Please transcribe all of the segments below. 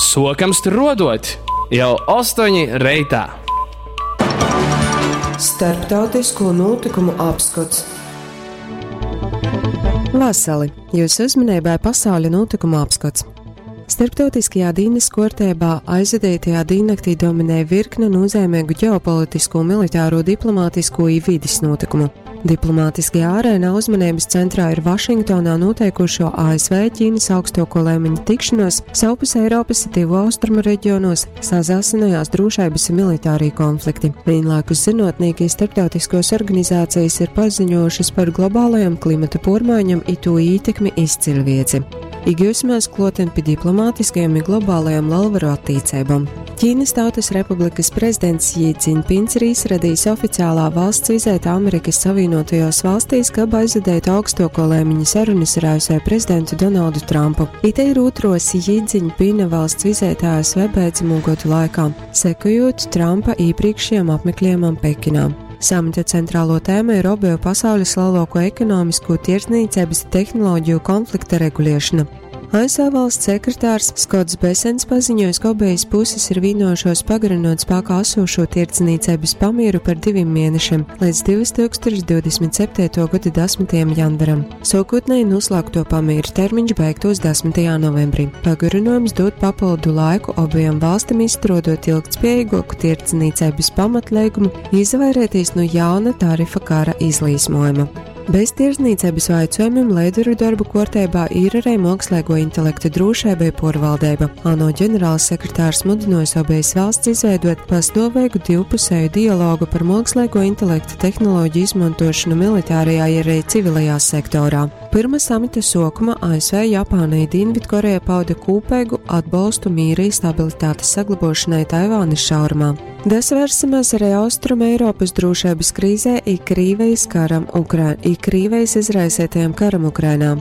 Sokam struodot jau 8 reitā. Starptautisko notikumu apskats. Vasali! Jūsu uzmanībai pasauļa notikumu apskats. Starptautiskajā dienas kārtībā aizvadītajā diennaktī dominēja virkne nozīmīgu ģeopolitisko, militāro, diplomātisko un vides notikumu. Diplomātiskajā arēnā uzmanības centrā ir Vašingtonā noteikušo ASV Ķīnas augstāko līmeņa tikšanos, savpus Eiropas tivu austrumu reģionos sazāsinājās drošības un militārī konflikti. Vienlaikus zinātnieki starptautiskos organizācijas ir paziņojušas par globālajām klimata pormaiņām i to ietekmi izcilvieci. Iegūsimies kloten pie diplomātiskajām un globālajām lalvaru attīcībām. Ķīnas Tautas Republikas prezidents Jī Dzinpins ir izradījis oficiālā valsts vizīti Amerikas Savienotajos valstīs, kab aizvadītu augstāko līmeņa sarunas ar ASV prezidentu Donaldu Trumpu. Ite ir otros Jī Dzinpina valsts vizīte ASV beidzamo gadu laikā, sekojot Trumpa iepriekšējam apmeklējumam Pekinā. Samita centrālo tēmu ir obeju pasaules lielāko ekonomisko tirdzniecības tehnoloģiju konflikta regulēšana. ASV valsts sekretārs Skots Besens paziņojis, ka obejas puses ir vienojušos pagarinot spēkā esošo tirdzniecības pamieru par diviem mēnešiem līdz 2027. gada 10. janvaram. Sākotnēji noslēgto pamieru termiņš beigtos 10. novembrī. Pagarinājums dod papildu laiku abajām valstīm izstrādot ilgtspējīgāku tirdzniecības pamatlīgumu, izvairīties no jauna tarifa kara izlīsmojuma. Bez tirdzniecības jautājumiem līderu darbu kārtībā ir arī mākslīgo intelekta drošība un pārvaldība. ANO ģenerālsekretārs mudinājis abejas valsts izveidot pastāvīgu divpusēju dialogu par mākslīgo intelekta tehnoloģiju izmantošanu militārajā un arī civilajā sektorā. Pirma samita sākuma ASV, Japāna un Dienvidkoreja pauda kopīgu atbalstu mīra un stabilitātes saglabošanai Taivānas šaurumā. Desvērsimies arī Austrum Eiropas drošības krīzē i Krīvijas karam Ukra i Krīvijas izraisītajam karam Ukrainā.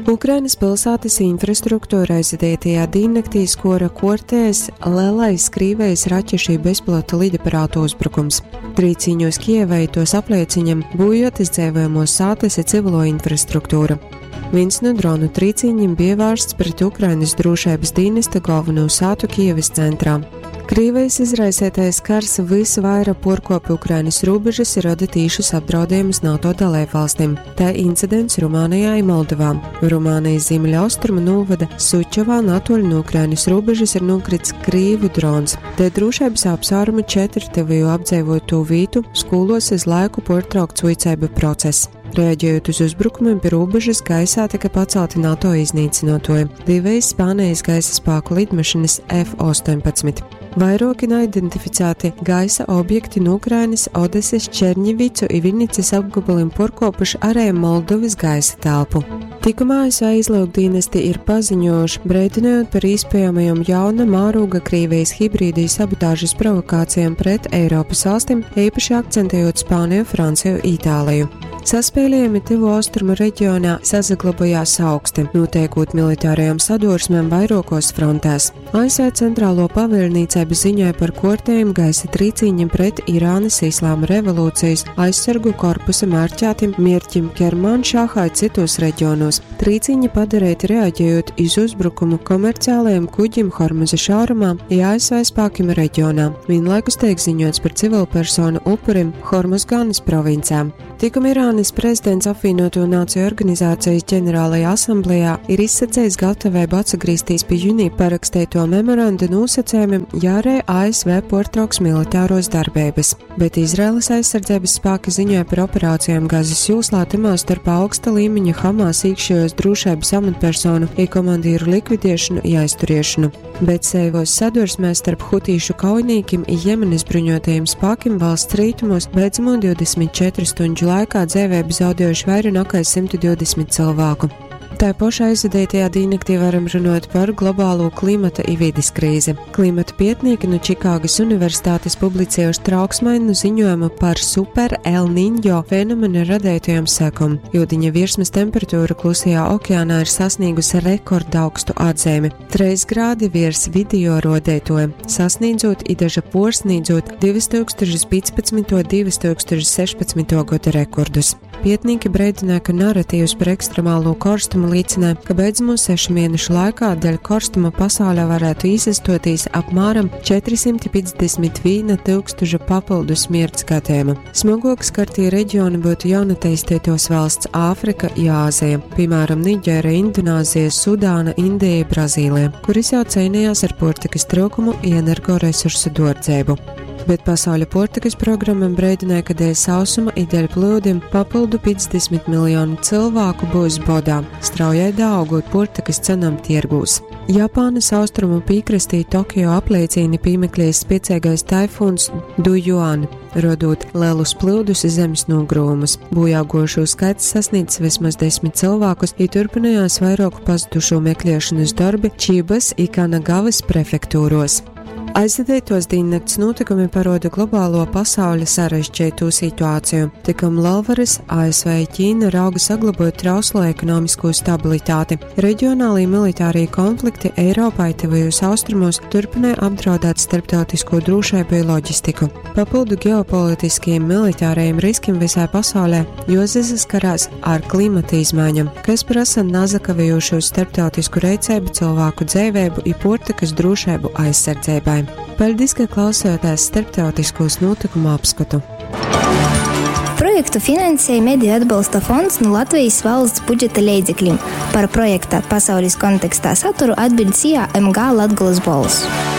Ukrainas pilsētas infrastruktūra aizvadītajā diennaktī skora kortēs lielais Krīvijas raķešu bezpilota lidaparātu uzbrukums. Trīciņos Kievai tos aplieciņam būjotas dzīvojamos sātas i civilo infrastruktūru. Viens no dronu trīciņiem bija vērsts pret Ukrainas drošības dienesta galveno sātu Kievas centrā. Krīvijas izraisītais kars visvairāk porkopa Ukrainas robežas ir rada tīšus apdraudējumus NATO dalībvalstīm. Tā incidents Rumānijā un Moldovā. Rumānijas ziemeļaustrumu novada Sučovā natoļ no Ukrainas robežas ir nokrits Krīvu drons. Te drošības apsvērumu četri tevijo apdzīvoto vītu skolos uz laiku portraukts uicēba process. Reaģējot uz uzbrukumiem pie robežas, gaisā tika pacelti NATO iznīcinotoji - divas Spānijas gaisa spēku lidmašīnas F-18. Vairāki neidentificēti gaisa objekti no Ukrainas, Odeses, Černivicu un Vinnicas apgabaliem porkopuši arī Moldovas gaisa telpu. Tikumā ASV izlūkdienesti ir paziņojuši, brīdinot par iespējamajām jauna mēroga Krievijas hibrīdī sabotāžas provokācijām pret Eiropas valstīm, īpaši akcentējot Spāniju, Franciju, Itāliju. Saspēlējumi Tuvo Austrumu reģionā sasaglabājās augsti, notiekot militārajām sadursmēm vairākos frontēs. ASV centrālo pavēlniecība ziņoja par kortējumu gaisa trīciņiem pret Irānas Islāma revolūcijas aizsargu korpusa mērķētim mierķim Kermanšāhai citos reģionos. Trīciņi padarīti reaģējot iz uzbrukumu komerciālajiem kuģim Hormuza šaurumā i ASV spēkiem reģionā. Vienlaikus tiek ziņots par civilpersonu upurim Hormuzganas provincē. Tikam Irānas prezidents apvienoto nāciju organizācijas ģenerālajā asamblējā ir izsacījis gatavību atgriezties pie jūnija parakstīto memorandu nosacījumiem, ja arī ASV portrauks militāros darbības. Bet Izraēlas aizsardzības spēki ziņoja par operācijām Gazas joslā, tamā starp augsta līmeņa Hamas iekšējos drošības amatpersonu i komandieru likvidēšanu i aizturēšanu. Bet seivos sadursmēs starp hutīšu kaujiniekiem i Jemenas bruņotajiem spēkiem valsts rietumos beidzamo 24 stundžu laikā dzīvību zaudējuši vairāk nekā 120 cilvēku. Tā pašā aizvadītajā diennaktī varam runāt par globālo klimata i vides krīzi. Klimata pētnieki no Čikāgas Universitātes publicējuši trauksmainu ziņojumu par super El Niño fenomena radītajām sekām. Jūdiņa virsmas temperatūra klusajā okeānā ir sasniegusi rekordaugstu atzīmi - 3 grādi virs video rodētoja, sasniedzot i daža porsniedzot 2015. un 2016. gada rekordus. Pietnīki breidināja, ka naratīvs par ekstremālo korstumu līcināja, ka beidzamo 6 mēnešu laikā dēļ korstuma pasaulē varētu izastotīs apmēram 451 tūkstoša papildu smirts gadījumu. Smagāk skartie reģioni būtu jaunatīstītos valsts Āfrika i Āzija, piemēram, Niģēra, Indonāzija, Sudāna, Indija, Brazīlija, kuras jau cīnījās ar puortikas trūkumu i energoresursu duordzeibu. Bet Pasauļa puortikas programa breidināja, ka dēļ sausuma i dēļ plūdim papildu 50 miljonu cilvēku būs bodā, straujai daaugot puortikas cenam tiergūs. Japānas austrumu pīkrastī Tokio apleicīni pīmeklējis spiecīgais taifūns Dujuan, rodot lielus plūdus i zemes nogrūmus. Bojāgojušū skaits sasniedz vismaz 10 cilvēkus, i turpinājās vairāku pazudušo meklēšanas darbi Čības i Kanagavas prefektūros. Aizvadītos dīnnakts notikumi paroda globālo pasauļa sarežģīto situāciju. Tikam lielvaras ASV i Ķīna rauga saglabot trauslo ekonomisko stabilitāti. Reģionālī militārie konflikti Eiropā i Tuvajos Austrumos turpināja apdraudēt starptautisko drošību i loģistiku. Papildu ģeopolitiskajiem militārajiem riskiem visā pasaulē juosaskarās ar klimata izmaiņām, kas prasa nasakavējošu starptautisku reiceibu cilvēku dzeiveibu i puortikas drošeibu aizsardzeibai. Paļdis, ka klausījāties starptautiskos notikumu apskatu. Projektu finansēja Mediju atbalsta fonds nu Latvijas valsts budžeta leidzeklim. Par projekta Pasaules kontekstā saturu atbild SIA MG Latgolas bolss.